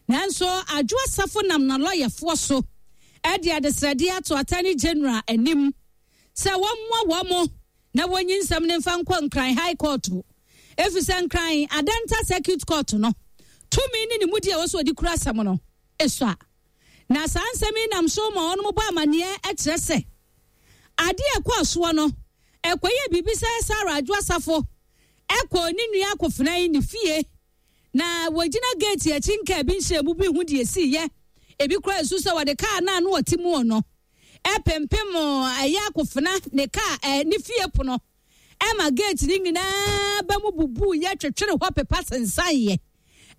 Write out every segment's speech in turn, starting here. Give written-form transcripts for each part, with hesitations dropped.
Nanso Adwo Asafo nam n'alɔyafoɔ so de adesrɛdeɛ ato Attorney General anim sɛ wɔmmoa wɔn na wɔnyi nsɛm no mfa nkɔ Nkran High Court efisɛ Nkran Adenta Circuit Court no tumi ne ne mudi a ɛwɔ sɛ wɔde kura asɛm no sua. Na saa nsɛm yi nam so ma wɔn bɔ amanneɛ kyerɛ sɛ adeɛ a ɛkɔɔ soɔ no ɛkɔyɛɛ biribi sɛ Sarah Adwo Asafo kɔɔ ne nua akofena yi ne fie na wɔgyina geeti akyi nkaa bi nhyɛɛ mu bi ho deɛ ɛsiiɛ. Ebi koraa nsu sɛ wɔde kaa no a na wɔte mu no ɛpempem ɛyɛ akofena ne kaa ɛ ne fie pono ɛma geeti no nyinaa ba mu bubuu yɛ twetwere hɔ pepa sensan yɛ.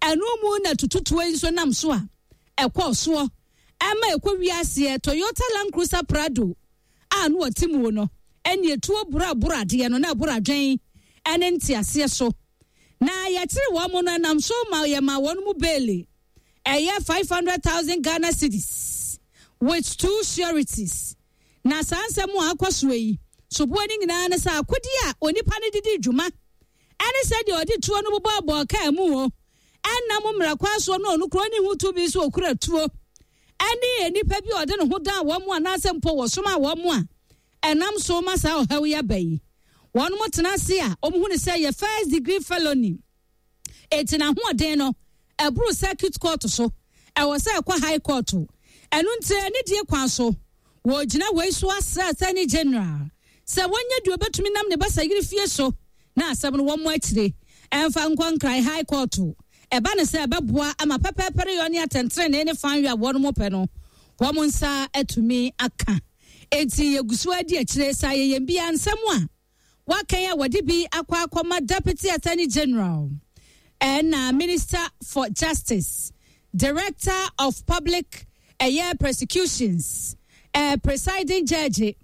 Ɛno mu na tututuo yi nso nam so a ɛkɔɔ soɔ ɛma ɛkɔ wiaseɛ Toyota Land Cruiser Prado a na ɔte mu no ɛne etuo boro aboro adeɛ no na ɛboro adwen ɛne nteaseɛ so. Na yɛkyere wɔn no ɛnam so ma yɛma wɔn mu beeli ɛyɛ 500,000 Ghana cedis with two sureties. Na saa nsɛm a akɔ soɔ yi soboɔ no nyinaa ne sɛ akodeɛ a onipa no de di dwuma ɛne sɛdeɛ ɔde tuo no bobɔɔbɔɔ kaa mu o ɛnam mmara kwan soɔ no ɔno kuro ne ho tumi so okura tuo ɛne nnipa bi a ɔde ne ho dan wɔn mu anaasɛ mpo wɔsoma wɔn mu a ɛnam so ma saa ɔhaw yi aba yi. Wɔn mo tena ase a wɔn hu ne sɛ yɛ first degree felony. Eti n'ahoɔden no ɛboro circuit court so, ɛwɔ sɛ ɛkɔ high court. Ɛno nti anidie kwan so wɔgyina wei so asrɛ Attorney General sɛ wɔnyɛ deɛ obetumi nam ne basayere fie so na asɛm no wɔn mo akyire ɛmfa nkɔ Nkran High Court. Ɛba ne sɛ ɛbɛboa ama pɛpɛɛpɛreyɔ ne atɛntenenee ne fanyɔ a wɔn mo pɛ no wɔn nsa atumi aka. Enti yɛgu so adi akyire saa yɛyɛn bia nsɛm a wakan a wɔde bi akɔ akɔma Deputy Attorney General ɛna Minister for Justice, Director of Public ɛyɛ Prosecutions, Presiding Judge,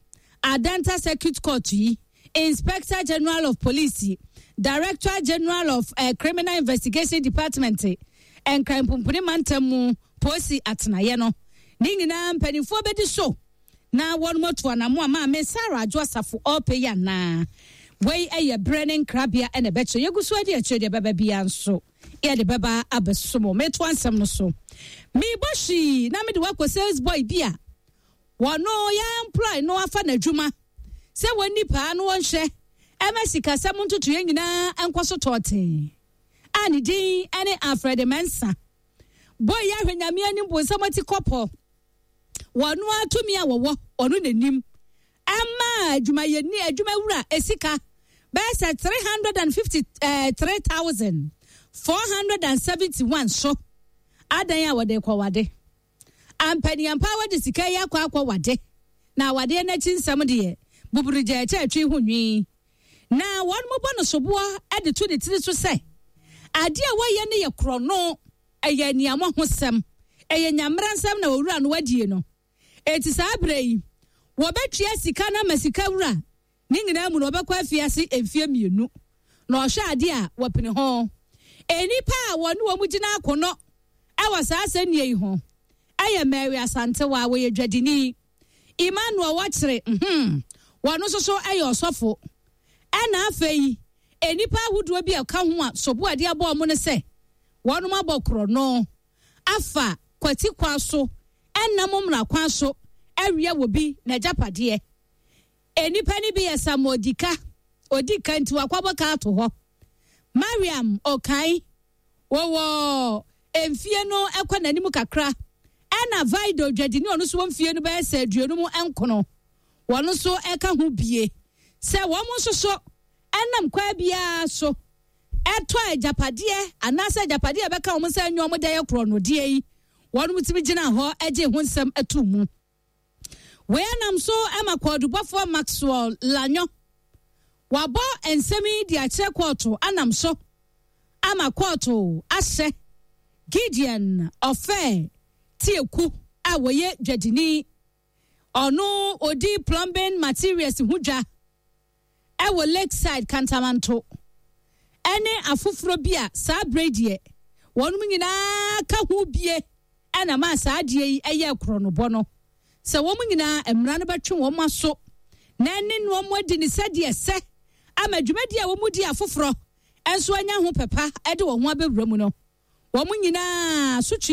Adenta Circuit Court yi, Inspector General of Police, Director General of Criminal Investigation Department, Nkran Pumpuni Mantam mu Polisi atenaeɛ no, ne nyinaa mpanimfoɔ bɛdi so na wɔn atu anamo a maame Sarah Adwo Asafo ɔrepɛ yi anaa. Wei yɛ berɛ ne nkrabea na ɛbɛkyerɛ. Yɛgu so adi akyire deɛ ɛbɛba biara nso yɛde bɛba abɛso mo. Metoa nsɛm no so. Mebɔ hwii na mede wakɔ sales boy bi a wɔno yɛ employ no afa n'adwuma sɛ wɔnni paa no wɔnhwɛ ɛma sikasɛm ntotoeɛ nyinaa nkɔ so tɔɔtee a ne din ne Alfred Mensah. Boy yi ahwɛ Nyame anim bonsam ati kɔpɔ. Wɔno ara tumi a wɔwɔ ɔno n'anim ɛma adwumayɛni adwumawura esika bɛyɛ sɛ 353,471 so adan a wɔde kɔwade. Ampaniampa wɔde sika yi akɔ akɔwade na awadeɛ n'akyi nsɛm deɛ buburu gya ɛkyɛ atwi ho nwi. Na wɔn mo bɔ no soboɔ de to ne tiri so sɛ adeɛ a wɔyɛ no yɛ korɔno, ɛyɛ aniammɔhosɛm, ɛyɛ nyamera nsɛm na owura no adie no. Enti saa berɛ yi, wɔbɛtua sika no ama sika wura, ne nyinaa mu no wɔbɛkɔ afiase mfeɛ 2 na ɔhwɛ adeɛ a wɔpene ho. Nnipa a wɔne wɔn gyina akono wɔ saa asɛnnie yi ho yɛ Mary Asantewa, wɔyɛ dwadini, Emmanuel Wɔkyere, wɔn nso so yɛ ɔsɔfo. Ɛna afei, nnipa ahodoɔ bi a ɛka ho a sobo a ɛde abɔ wɔn no sɛ wɔnom abɔ korɔno afa kwati kwan so ɛnam mmara kwan so awia wɔ bi n'agyapadeɛ. Nnipa no bi yɛ Samuel Dika, odi ka nti wakɔbɔ ka ato hɔ. Mariam Okai, wɔwɔ mfie no ɛkɔ n'anim kakra. Ɛna Vido dwadini ɔno nso wɔ mfie no bɛyɛ sɛ 59, wɔn nso ɛka ho bie sɛ wɔn nso so ɛnam kwan biara so ɛtɔ agyapadeɛ anaasɛ agyapadeɛ a ɛbɛka wɔn sɛ ɛnyɛ wɔn dɛ yɛ korɔnodeɛ yi, wɔn tumi gyina hɔ gye ho nsɛm ato mu. Wei anam so ma kɔɔdubɔfoɔ Maxwell Lanyo wabɔ nsɛm yi de akyerɛ kɔɔto anam so ama kɔɔto ahyɛ Gideon Ɔfɛ Tieku a wɔyɛ dwadini, ɔno odi plumbing materials ho dwa ɛwɔ Lakeside Kantamanto ɛne afoforɔ bi a saa berɛ deɛ wɔn nyinaa ka ho bie ɛna maa saa adeɛ yi ɛyɛ korɔnobɔ no sɛ wɔn nyinaa mmara no bɛtwe wɔn aso na ɛne wɔn adi ne sɛdeɛ sɛ ama dwumadie a wɔn di afoforɔ nso anya ho pɛpa ɛde wɔn ho abɛwura mu no wɔn nyinaa so twe.